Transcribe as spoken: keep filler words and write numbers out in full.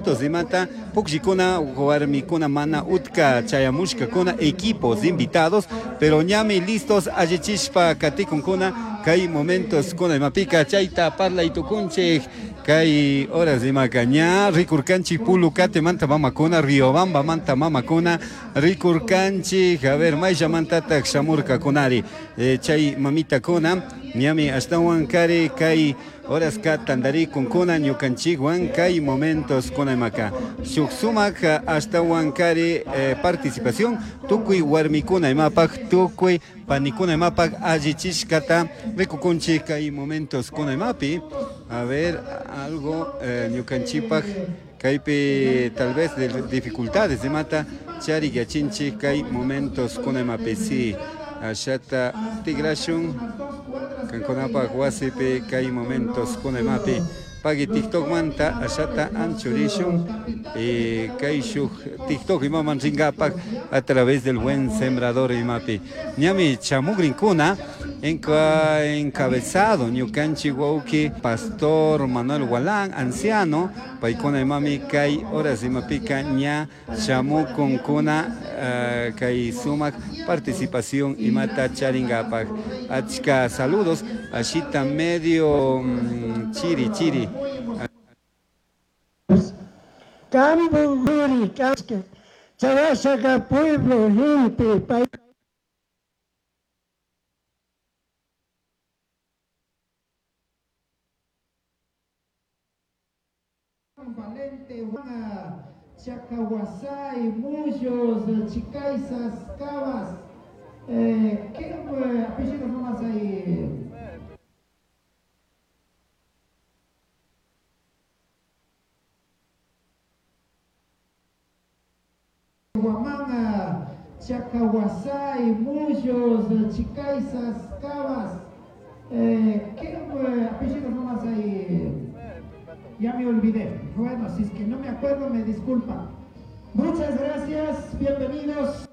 minutos imata pukllakuna warmikuna mana utka chayamushkakuna equipos invitados, pero ñami listos allichishpa katikunkuna kay momentos kuna imapika chayta parlay tukunchik kay horas imaka ña rikurkanchik Pulucatemanta mamakuna, Riobambamanta mamakuna rikurkanchik, a ver mayllamantataq shamurkakunari eh, chay mamitakuna ñami ashtawan kari kay horas ka tantarikunkuna ñukanchikwan kay momentos kuna imaka shuk sumak ashtawan kari eh, participación tukuy warmikuna imapaq tukuy panikuna imapak allichishkata rikukunchik kay momentos kuna imapi. A ver, algo eh, ñukanchikpak kaypi tal vez de dificultades imata charik yachinchik kay momentos kuna imapi si ashata tigrashun kankunapak wasipi kay momentos kuna imapi pagui TikTok manta ashata anchurishun eh, kay shuk TikTok imaman rinkapak a través del Buen Sembrador imapi ñami chamugrinkuna enca, encabezado ñukanchik wawki Pastor Manuel Gualán, anciano, paykuna imami kay horas imapika ña shamukunkuna uh, kay sumak participación imata charingapak. Achka saludos, ashita medio mm, chiri chiri. Camburi, Casque, Charasaca, pueblo, gente, país. Valente, Chacahuasay, Muyos, Chicaizas, Cabas. Eh, ¿Qué eh, apellidos nomás hay? Huamanga, Chacahuasay, Muyos, Chicaizas, Cabas. Eh, ¿Qué eh, apellidos nomás hay? Ya me olvidé. Bueno, si es que no me acuerdo, me disculpan. Muchas gracias, bienvenidos.